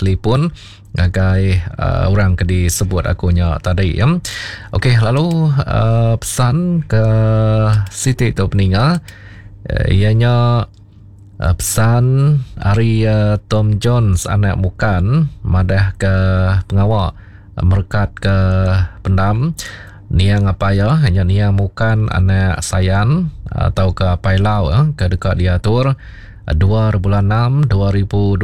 telefon ngagai uh, orang ke disebut aku nya tadi ya. Okey lalu uh, pesan ke siti tu peninga uh, iya nya uh, pesan ari uh, Tom Jones anak Mukan madah ke pengawa merekat ke pendam niang apai iya nya niang Mukan anak Sayan atau ke apai Lau ke deka diatur 2 bulan 6 2026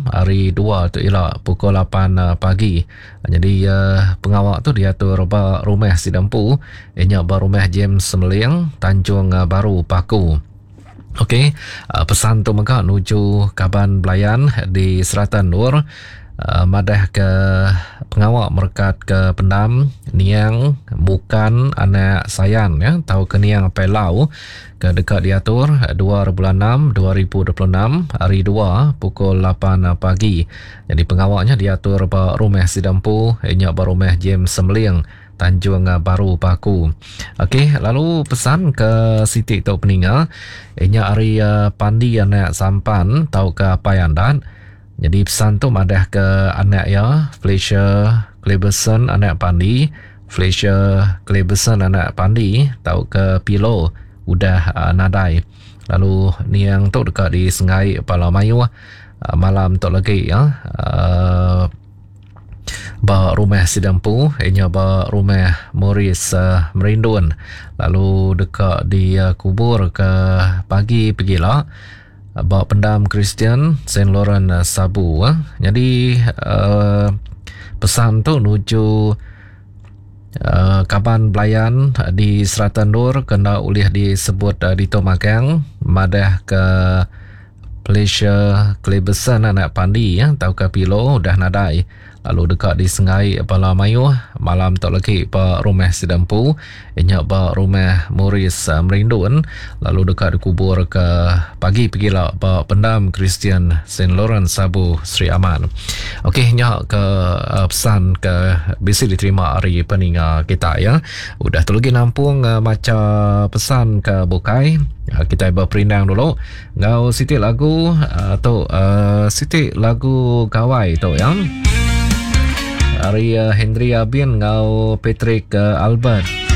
hari 2 tu ila pukul 8 pagi. Jadi pengawa tu diatur ba rumah sida empu nya ba rumah James Semeling Tanjung Baru Paku. Okey, pesan tu mega nuju kaban belayan di serata endur madah ke pengawa merekat ke pendam niang bukan anak Sayan ya tauka niang Apai Lau ke deka diatur 2 bulan 6 2026 hari 2 pukul 8 pagi. Jadi pengawa nya diatur ba rumah sida empu nya ba rumah James Semeling Tanjung Baru Paku. Okey, lalu pesan ke siti tu peninga inya ari eh, Pandi anak Sampan tauka Apai Andat. Jadi pesan tu madah ke anak iya Fletcher Cleberson anak Pandi, Fletcher Cleberson anak Pandi tauka Pilo udah eh, nadai. Lalu niang tu deka disenggai bala mayuh eh, malam tu lagi ya. Ba rumah sida empu iya nya ba rumah Maurice Merindun lalu deka dikubur ke pagi pegila ba pendam Kristian Saint Laurent Sabu. Nyadi uhh pesan tu nuju uhh kaban belayan di serata endur ke enda ulih disebut ditu magang madah ke Felicia Cleberson anak Pandi tauka Pilo udah nadai lalu deka disenggai bala mayuh malam tu lagi ba rumah sida empu nya ba rumah Maurice Merindun lalu deka dikubur ke pagi pegila ba pendam Kristian Saint Lawrence Sabu Sri Aman. Okey nya ke pesan ke bisi diterima ari peninga kita ya. Udah tu lagi nampung macha pesan ke bukai kitai beperindang dulu. Enggau siti lagu uh, tu uh, siti lagu gawai tu ya. Ari uh, Henry Abin enggau Patrick uh, Albert.